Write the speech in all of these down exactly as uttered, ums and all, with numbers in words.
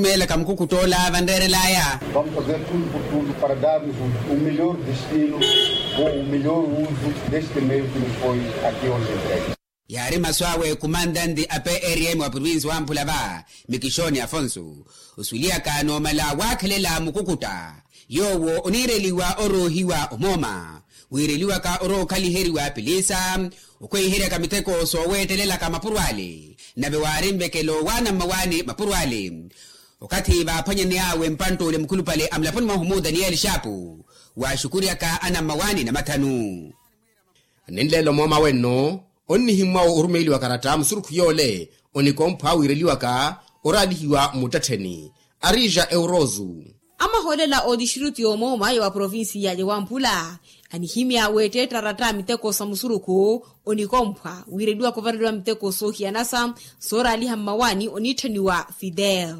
Meelaka mukukutt'ola vanreerel'aya. Vamos fazer tudo por tudo para darmos o melhor destino ou o melhor uso deste meio que nos foi aqui hoje entregue. Yaari masu awe kumantanti a prm wa provinsi wamphula va, mikixoni afonso, osuwelihaka n'omala waakhelela mukukutta. Yoowo oniireliwa oroohiwa omooma, wiireliwaka orookhaliheryiwa piliisa, okhweiheryaka miteko sooweettelelaka mapuro ale. Nave waari nvekelo waana mmawaani mapuro ale. Okathi vaaphwanyaney'awe mpantt'ule mukhulupale a mulaponi mwahu mu daniyeli xaapu, waaxukuryaka ana mmawaani namathanu. Ninleela omooma wenno, onnihimmwawo orumeeliwa karatta musurukhu yoole, onikomphwa wiireliwaka oraalihiwa mmuttettheni. Arija eurozu. Amahoolela ootixtiritu y'omooma ya wa provinsiya ya wamphula, anihimya weetteetta aratta miteko sa musurukhu, onikomphwa wiireliwaka ovareliwa miteko soohiyanasa, sooraaliha mmawaani oniitthaniwa fidel.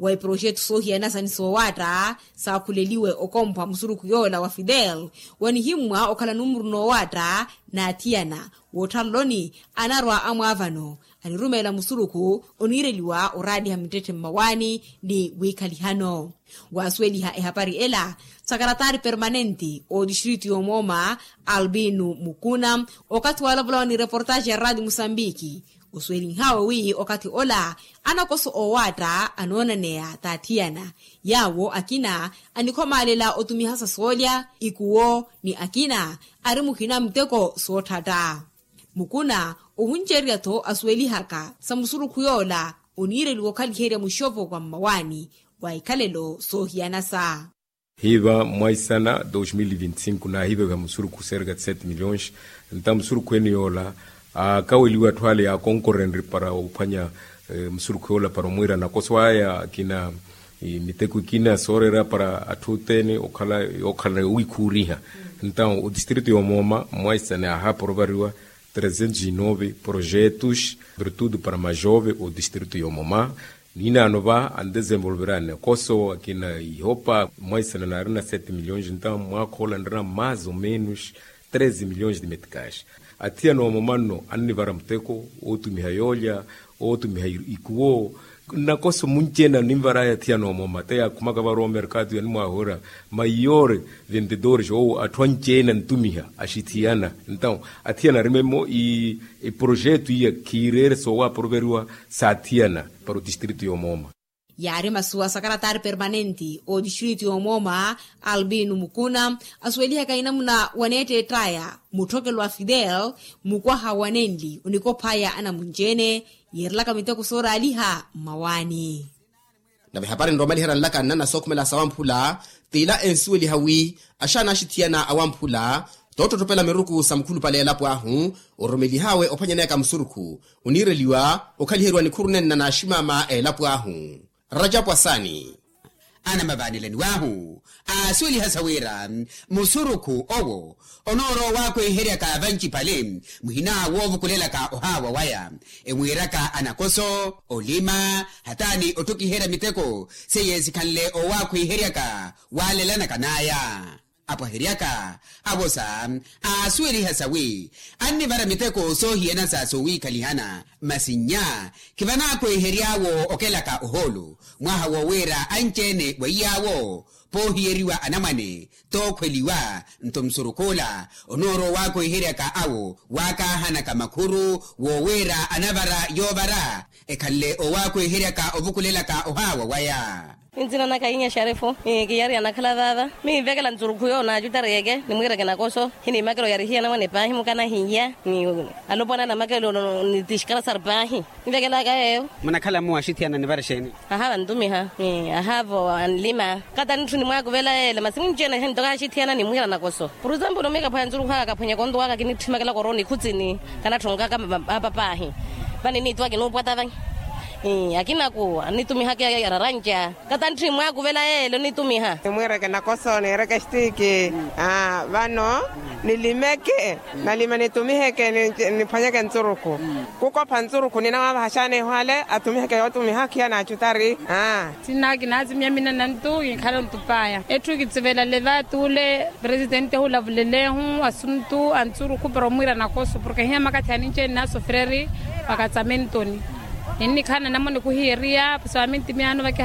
Wa iproxetu soohiyanasa ni soowaatta saakhuleliwe okomphwa musurukhu yoola wa fidel, wanihimmwa okhala numuru noowaatta n'athiyana wootthaloloni, anarwa amwaavano anirumeela musurukhu oniireliwa oraaliha mittetthe mmawaani ni wiikhalihano. Waasuweliha ehapari ela, sakaratari permanenti ootixtiritu y'omooma, albino mukuna, okathi waalavola ni reportaxi ya raati musambiki, osuwelinhawe wi okathi ola anakoso oowaatta anoonaneya t'athiyana, yaawo akina anikhomaalela otumiha sa soolya, ikuwo ni akina ari muhina muteko sootthatta. Mukuna ohuncererya-tho asuwelihaka sa musurukhu yoola oniireliwa okhaliherya muxopo wa mmawaani wa ikhalelo soohiyanasa. Hiiva mwaisana dos mil vinti cinco naahiivaviha musurukhu serka de sete milhões. Nta musurukhu ene yoola aakaweliwa atthu ale yaakonkorenrye para ophwanya musurukhu yoola para omwiira nakoso aya akina miteko ikina sooreera para atthu othene okhala yookhala yoowikhuuriha. Nta otistritu y'omooma mwaisana yaahaapa orovariwa trezentos inove projetos virtude para majove otistritu y'omooma. Ninaano va andesenvolvera nakoso akina ihopa mwaisana naarina sete milhões nta mwaakha ola nrina mais ou menos treze milhões de meticais. Athiyana omooma nno annivara muteko ootumiha yoolya, ootumiha ikuwo. Nnakoso munci-ene aninvar'aya athiyana omooma te yaakhumaka varowa omerkatu yanimwaahuwerya maiore vendedores ou atthu anci-ene antumiha axithiyana. Ntawo athiyana arime-mo eprojetu iya khiireere soowaapuruveriwa s'athiyana para otistritu y'omooma. Yaari masu a sakaratari permanenti ootixtiritu y'omooma, albino mukuna, asuwelihaka inamuna waneetteett'aya mutthokelo a fidel, mukwaha wa nenli onikoph'aya anamunci-ene yiirelaka miteko sooraaliha mmawaani. Nave ehapari nroomaliherya nlaka nnana sookhumela sawamphula, t'ila ensuweliha wi axaana axithiyana awamphula toottottopela miruku sa mukhulupale a elapo ahu, orumelih'awe ophwanyaneyaka musurukhu oniireliwa okhaliheriwa nikhuru nenna n'aximaama a elapo ahu. Rajapu asaani. Anamavaanelaniw'ahu aasuweliha sa wira musurukhu owo onoorowa owaakweheryaka vancipale muhina woovukulelaka ohaawa waya, emwiiraka anakoso, olima, hataani otthukiherya miteko seiye sikhanle owaakweheryaka waalelanaka n'aya. Apwaheryaka avosa aasuweliha sa wi annivara miteko soohiyanasa soowiikhalihana masi nnya khivanaakwehery'awo okelaka ohoolo mwaha wowiira anci-ene weiy'awo poohiyeriwa anamwane tookhweliwa. Nto musurukh'ula onoorowa owaakweheryaka awo waakaahanaka makhuru wowiira anavara yoovara ekhanle owaakweheryaka ovukulelaka ohaawa waya. Nzina naka inya xarefu. Kiyariya nakhala vaava miivekela ntsurukhu yo naacutariyeke nimwiireke nakoso hiniimakela oyarihiya namwane paahi mukanahiya. Alopwana namakelo ni tixkarasar paahi. Nvekelaka yeeyo. Munakhala mmuwaxithiyana nivara exeeni? Ahaava ntumiha. Ahaavo anlima kata nitthu nimwaakuvela yeele masi munci-ene ntoka axithiyana nimwiira nakoso. Por example miikaphwaya ntsurukhu aka kaphwenyeke ontuwaka kinitthimakelaka orowa nikhutsini. Kanatthonkaka apa paahi. Vani niituwa kinuupwata vanyi. Akinaku anitumihaka yararanca kata ntthi mwaakuvela yeele onitumiha. Nimwiireke nakoso niireke xtiiki. Vano nilimeke nalime nitumiheke niphwanyeke ntsurukhu. Kukopha ntsurukhu ninawavaha xaana ehwale atumiheke yootumiha khiya naacutari. Sinna kinaazimiya minanantu kinkhala ontupaya etthu kitsivela leva tuule. Presidente hulavulelehu asuntu a ntsurukhu para omwiira nakoso porke hiya makathi aninci-ene naasofereri. Vakatsamentoni ninnikhala nanamone kuhiyeriya pasawaminti miyaano.